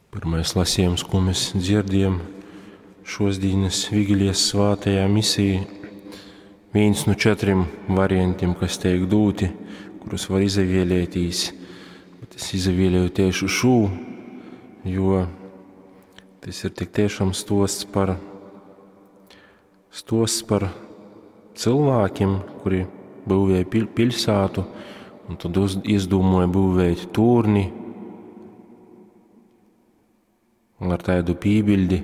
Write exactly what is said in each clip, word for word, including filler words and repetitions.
Pirmais lasījums, ko mēs dzirdējam šos dienas Vigilijas svātajā misijā, viens no četriem variantiem, kas tiek dūti, kurus var izavēlētīs. Bet es izavēlēju tieši šo, jo tas ir tik tiešām stosts par, stosts par cilvēkiem, kuri būvēja pil, pilsētu, un tad uz, izdomāja būvēt turni. Un ar tādu pībildi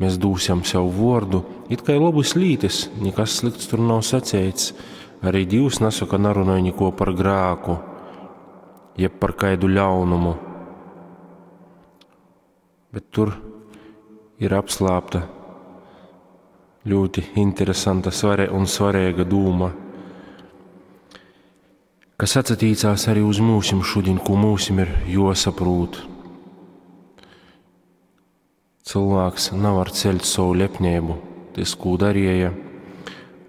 mēs dūsim sev vordu, it kā labas lītas, nekas slikts tur nav sacēts. Arī Dievs nesaka, nerunāja neko par grāku, jeb par kaidu ļaunumu. Bet tur ir apslāpta ļoti interesanta svare un svarīga dūma, kas atsatīcās arī uz mūsim šodien, ko mūsim ir josaprūt. Cilvēks nevar ceļt savu lepnību. Tas, ko darīja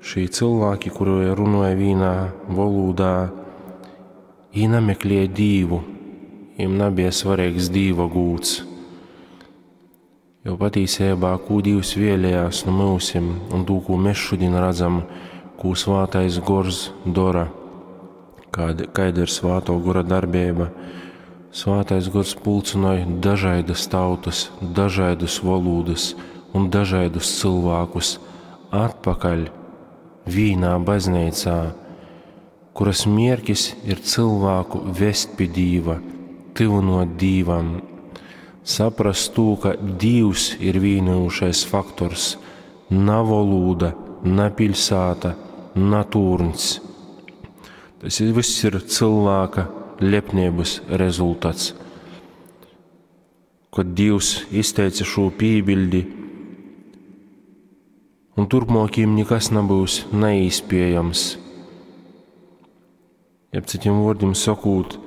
šī cilvēki, kuri runāja vienā valodā, viņi nemeklēja Dievu, viņiem nebija svarīgs Dieva gūts. Jo patiesībā, ko Dievs vēlējās no mūsim, un to, ko mēs šodien redzam, ko Svātais Gors dara, kāda, kāda ir Svāto Gora darbība. Svātais Gors pulcināja dažādas tautas, dažādas valodas un dažādus cilvēkus atpakaļ vīnā baznīcā, kuras mierkis ir cilvēku vest pie Dīva, tuvinot Dīvam, saprast to, ka Dievs ir vienojušais faktors, na valoda, na pilsēta, na turns. Tas viss ir cilvēka lepnības rezultāts. Kad Dievs izteica šo pībildi, un turpmākiem nekas nebūs neīspējams. Jeb citiem vārdiem sakot,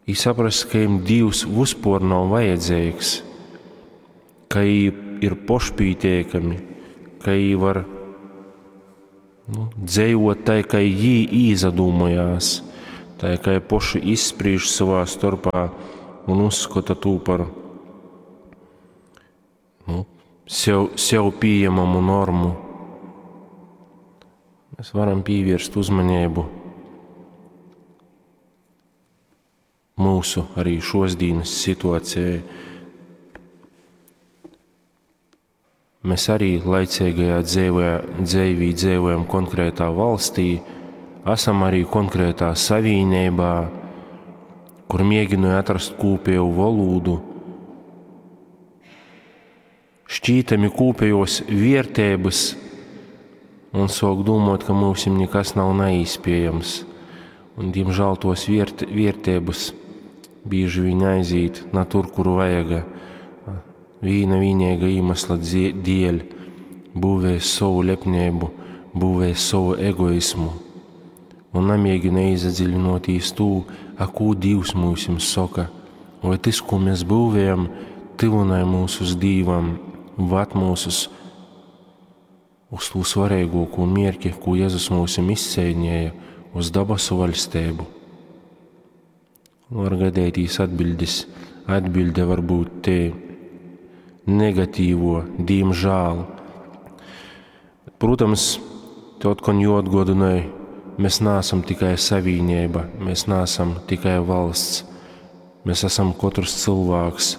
i saprast, ka jiem Dievs vispār nav vajadzīgs, ka viņi ir pošpītiekami, ka viņi var nu, dzējot tai, ka viņi īzadūmojās, tai, ka viņi poši izspriež savā starpā un uzskata to par nu, sev, sev pieejamamu normu. Mēs varam pievērst uzmanību mūsu arī šodienas situācijai. Mēs arī laicīgajā dzīvē, dzīvī dzīvojam konkrētā valstī, esam arī konkrētā savienībā, kur mēģināju atrast kopēju valodu, šķītami kopējos vērtības un sāk domāt, ka mums nekas nav neīspējams. Un, diemžēl, tos viert, vērtības bieži vien aiziet na tur, kur vajaga. Vīna vienīga iemesla dēļ būvēs savu lepnību, būvēs savu egoismu un nemēģina iedziļinoties to, a ko Dievs mums saka, vai tas, ko mēs būvējam, tuvināja mūs uz Dievam, vad mūs uz, uz to svarīgāko mērķi, ko Jēzus mums izcīnīja, uz dabasu valstību. Var gadētīs atbildes, atbilde var būt te negatīvo, diemžēl. Protams, te otkon jāatgādināja, mēs neesam tikai savienība, mēs neesam tikai valsts, mēs esam katrs cilvēks.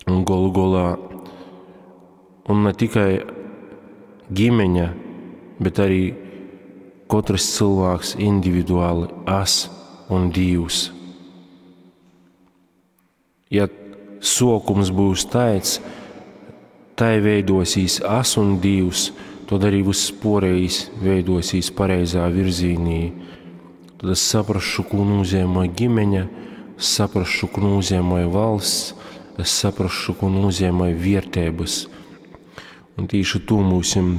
Un galu galā, un ne tikai ģimeņa, bet arī katrs cilvēks individuāli es un Dievs. Ja sokums būs tāds, tai veidosīs es un Dievs, tad arī viss porējs veidosīs pareizā virzīnī. Tad es saprašu, ko nozīmē ģimeņa, saprašu, ko nozīmē valsts, es saprašu, ko nozīmē vērtības. Un tieši to mūsim,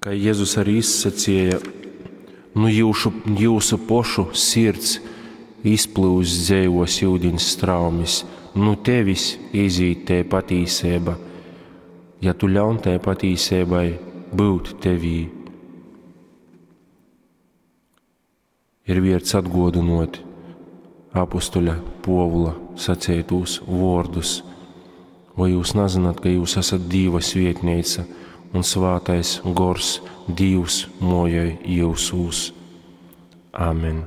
kā Jēzus arī izsacīja, nu jūsu, jūsu pošu sirds izplūst dzējos ūdens straumes, nu tevis izīt te patīsība, ja tu ļaun tai patīsībai būt tevī. Ir vērts atgodinot apustuļa Puovula saceitūs vuordus: Voi jūs nazynat, ka jūs esat Dīva svietneica un Svātais Gors Dīvs muojoj jiusūs? Amen.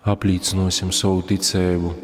Aplīcynuosim sovu ticeibu.